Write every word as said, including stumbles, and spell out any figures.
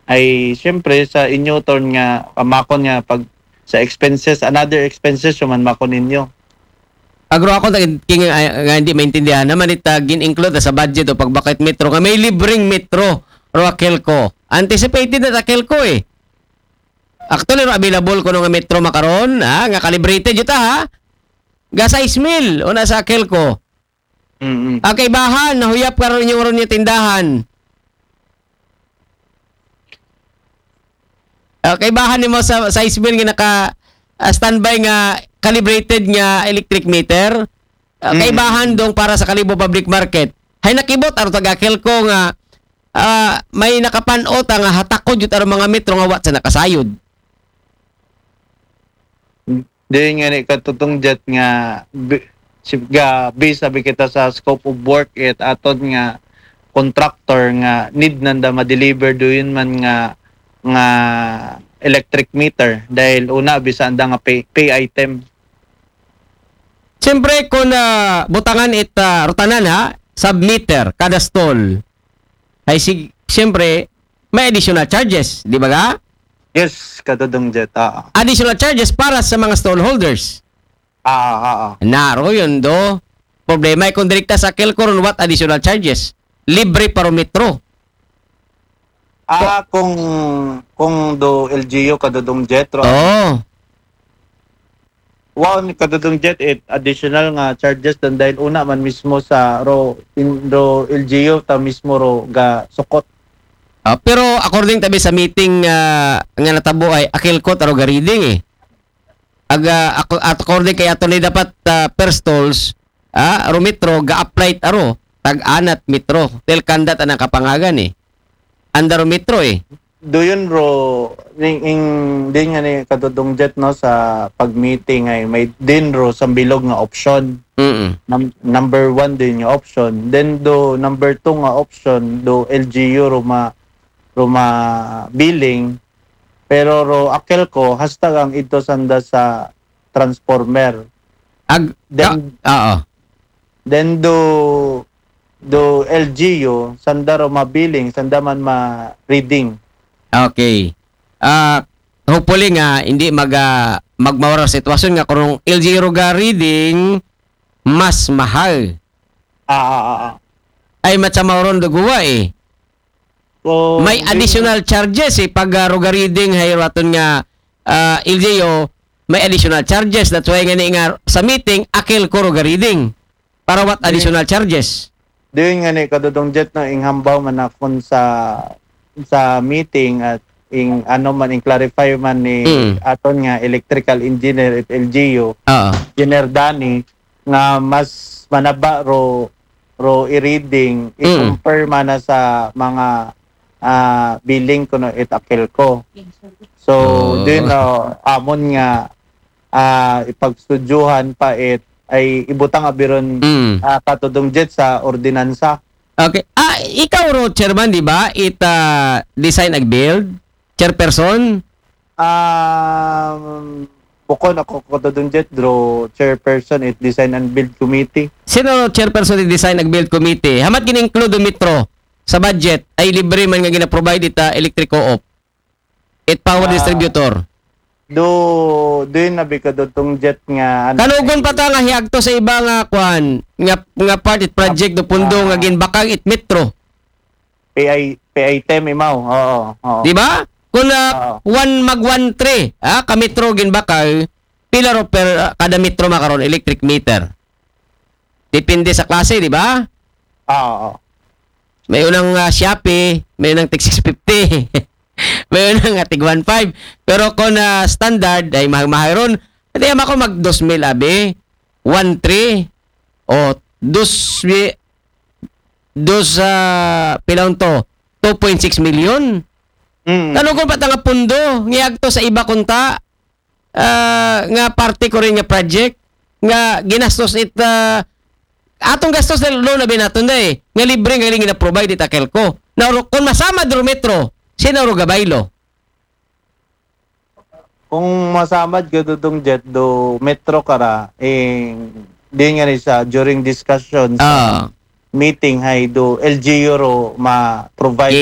Ay, siyempre, sa inyo, Ton, nga, pamakon nga, pag, sa expenses, another expenses, yung man makon ninyo. Agro ako, ta-, king-, ay, nga hindi maintindihan naman, ita gin-include sa budget o pagbakit metro, nga may libreng metro, ro Akelco. Anticipated na Akelco eh. Actually, ro available ko nga metro makaron, ha? Nga calibrated yun ta, ha? Ga sais mil, una sa Akelco. Mm-mm. Ang kaibahan, nahuyap ka ron yung ron yung tindahan. Ah, kaibahan nimo sa sais mil nga naka ah, standby nga calibrated nga electric meter. Ah, Mm. Kaibahan dong para sa Kalibo Public Market. Hay nakibot aro taga Akelco nga ah, may nakapanot nga hatakod jud aro mga metro nga wa sa nakasayod. Di nga ni katutong jet nga bi- si ga based sabi kita sa scope of work it aton nga contractor nga need nanda ma-deliver do yun man nga nga electric meter dahil una bisa anda nga pay, pay item. Siyempre, kung ah, butangan it ah, rutanan ha, sub-meter, kada stall, ay sig, siyempre, may additional charges, di ba ga? Yes, katutong jet. Ah, Additional charges para sa mga stall holders. ah, ah, ah. Naro yun do. Problema ay kung direkta sa Akelco ron, what additional charges? Libre para metro. Ah, kung kung do L G U katutong jet ro. Oo. Wow, ni katutong jet it additional nga charges dan dahil una man mismo sa ro in ro L G U ta mismo ro ga sukot. Ah, pero according tabi sa meeting ah, nga natabo ay Akelco taro ga reading eh. Aga ako at according kay ato ni dapat ah, per stalls ah, aro metro ga-apply aro tag-anat metro. Tel kandat ang kapangagan eh. Anda ro metro eh. Do yun ro ning ing din nga ni katutong jet no sa pag-meeting ay may din ro sa bilog nga option. Mm. Num- number one din nga option. Then do number two nga option do L G U ro ma ro ma billing pero ro Akelco hasta ang ito sanda sa transformer. Ag Then ah, oo. Then do do L G U sanda ro ma billing sanda man ma reading. Okay. Ah, hopefully nga hindi mag ah, magmawara ang sitwasyon nga kung L G U ro ga reading mas mahal. Ah, ah, ah, ah. Ay matsa mauron duguwa eh. So, May additional charges eh pag ah, ro ga reading hay raton nga ah, L G U may additional charges, that's why nga ni nga sa meeting Akelco ro ga reading para what additional charges. Doon nga ni katutong jet no ing hambaw man akon sa sa meeting at ing ano man ing clarify man ni Mm. aton nga electrical engineer at L G U Oo. Engineer Danny nga mas manaba ro ro i-reading Mm. i-compare man na sa mga ah, billing kuno it Akelco. So, Oh. din uh, amon nga ah, ipagstudyuhan pa it ay ibutang abi ron Mm. ah, katutong jet sa ordinansa. Okay. Ah, ikaw ro chairman, di ba? It ah, design ag build chairperson. Um, bukon ako katutong jet ro chairperson it design and build committee. Sino ro chairperson it design ag build committee? Hamat gin-include do metro sa budget ay libre man nga gina-provide it ah, electric co-op. It power Ah. Distributor. Do doon na bi katutong jet nga ano, Kanugon pa ta nga hiagto sa iba nga kwan nga nga part it project do pundo nga ginbakag it metro. P I P I T M imaw. Oo, oo. Di ba? Kung ah, Oo. one mag one three, ah, ka metro ginbakag, pila ro per ah, kada metro makaron electric meter. Depende sa klase, di ba? Ah, oo. May unang ah, Shopee, may unang tig six fifty. May unang ah, tig one five. Pero kung ah, standard ay mahal-mahal ron, hindi ako mag dos mil abi, one three, o dos mi- dos ah, pila to, two point six million. Mm. Kanugon pa ta nga pundo, ngiagto sa iba kunta, ah, nga parte ko rin nga project, nga ginastos it, ah, atong gastos na lo na binaton na eh, nga libre nga ling na-provide it Akelco. Na ro- kung masama do metro, sino ro gabaylo? Kung masamad katutong jet do metro kara, eh, di nga ni sa during discussion sa Ah, meeting hay do L G U ro ma-provide